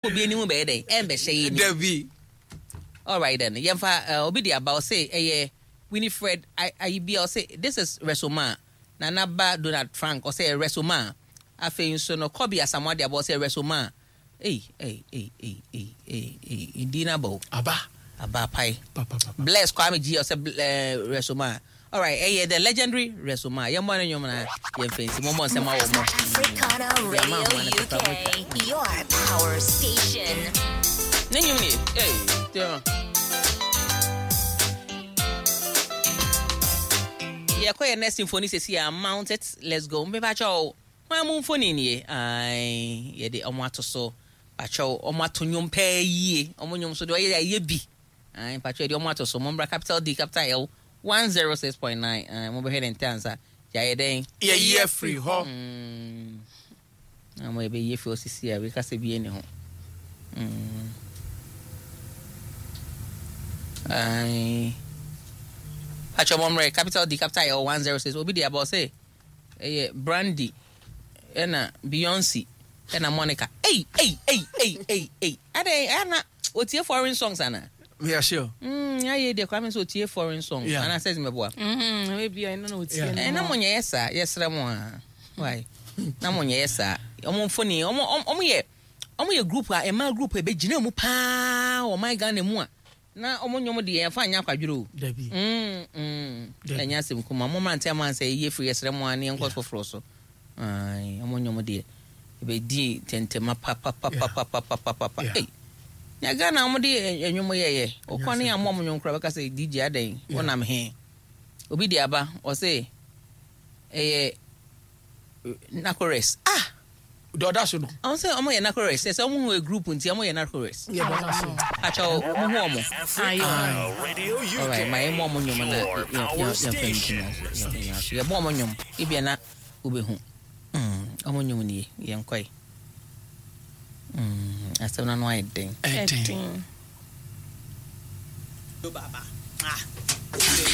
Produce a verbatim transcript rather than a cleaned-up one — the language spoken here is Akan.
Obi anim bɛyɛ dɛn ɛmbɛhyɛ yɛ ni. Dabi. Alright then, yɛmfa uh, obi de aba, ɔse ɛyɛ Winifred Ayibia, ɔse this is Resoma. Nana ba Donald Frank, ɔse ɛyɛ Resoma. Afei nso no, Kobe Asamoah de aba, ɔse ɛyɛ Resoma. Ei ei ei ei ei ei ei, ndi na aba o. Aba. Aba pai. Pa, pa, pa, pa. Bless Kwame G, ɔsɛ uh, Resoma. Alright, ɛyɛ the legendary Resoma. Yɛmmɔ ne nnwom na yɛmfa nsi mommɔ nsɛm awɔ mo. Africana Radio U K, your power station. Ne nnwom nie. Ei, tiɛ yɛkɔ yɛ next symphony sɛsi a, mount it, let's go. Mpepakyɛw, hwan mu mfoni nie? Ai, yɛde ɔmo ato so. Pakyɛw, ɔmo ato nnwom pɛɛ yie. Ɔmo nnwom so deɛ, ɔyɛ ayɛ bi. Ai, pakyɛw, yɛde ɔmo ato so. Mommra Capital D Capital L one zero six point nine. Ai, mobɛhwɛ ne nte ansa yɛayɛ dɛn. Yɛyi afiri hɔ. Mm. Na mo yɛbɛyie fi osisi a weka sɛ bie ne ho. Mm. Ai. Pakyɛw, mommrɛ Capital D Capital L one zero six. Obi de aba, ɔsɛ ɛyɛ Brandy ɛna Beyonce ɛna Monica. Ei ei ei ei ei ei, adɛn, ɛna otie foreign songs ana? Yeah, sure. mm ayɛ deɛ Kwame sɛ otie foreign songs. Yeah. Anaasɛ sɛ mɛboa. Mhm, ebi a ɛno na otie Yeah. no. Ɛ na mo nyɛ yɛ saa, yɛsrɛ mo a, why na mo nyɛ yɛ saa? Ɔmo mfoni, ɔmo ɔmo ɔmo yɛ ɔmo yɛ group a ɛmaa group a ɛbɛgyina mu paa wɔ ɔman Ghana mu a na ɔmo nnwom deɛ, yɛmfa nyɛ akwadworɔ o. Dabi. Mm, mm. Dabi. Ɛnyɛ asɛm kuma mo mmerante ama sɛ ɛyɛ firi, yɛsrɛ mo a, ne yɛnkɔ foforɔ so. Ai, ɔmo nnwom deɛ, ɛbɛdi tɛntɛma papapapapapapapa. Yeah. Ei, na Ghana ɔmo de ɛ- ɛnwom yɛyɛ wokɔ ne ammɔ ɔmo nnwom koraa, bɛka sɛ D J adɛn, wonam he? Obi de aba, ɔse ɛyɛ Nacores ah. Deɛ ɔda so no. Ɔmo sɛ ɔmo yɛ Nacores, sɛ sɛ ɔmo hu a group nti ɔmo yɛ Nacores. Yɛ deɛ ɔda so. Akyɛw, mo hu ɔmo. Ayo. Radio U K. Alright, ma yɛmmɔ ɔmo nnwom na Your power station. yɛmfa yɛbɔ ɔmo nnwom ebia na wobɛhu. Mm, ɔmo nnwom nie, yɛnkɔe. Mm, asɛm no ano ayɛ den. Ɛden. Ɛden. Baba. Ah.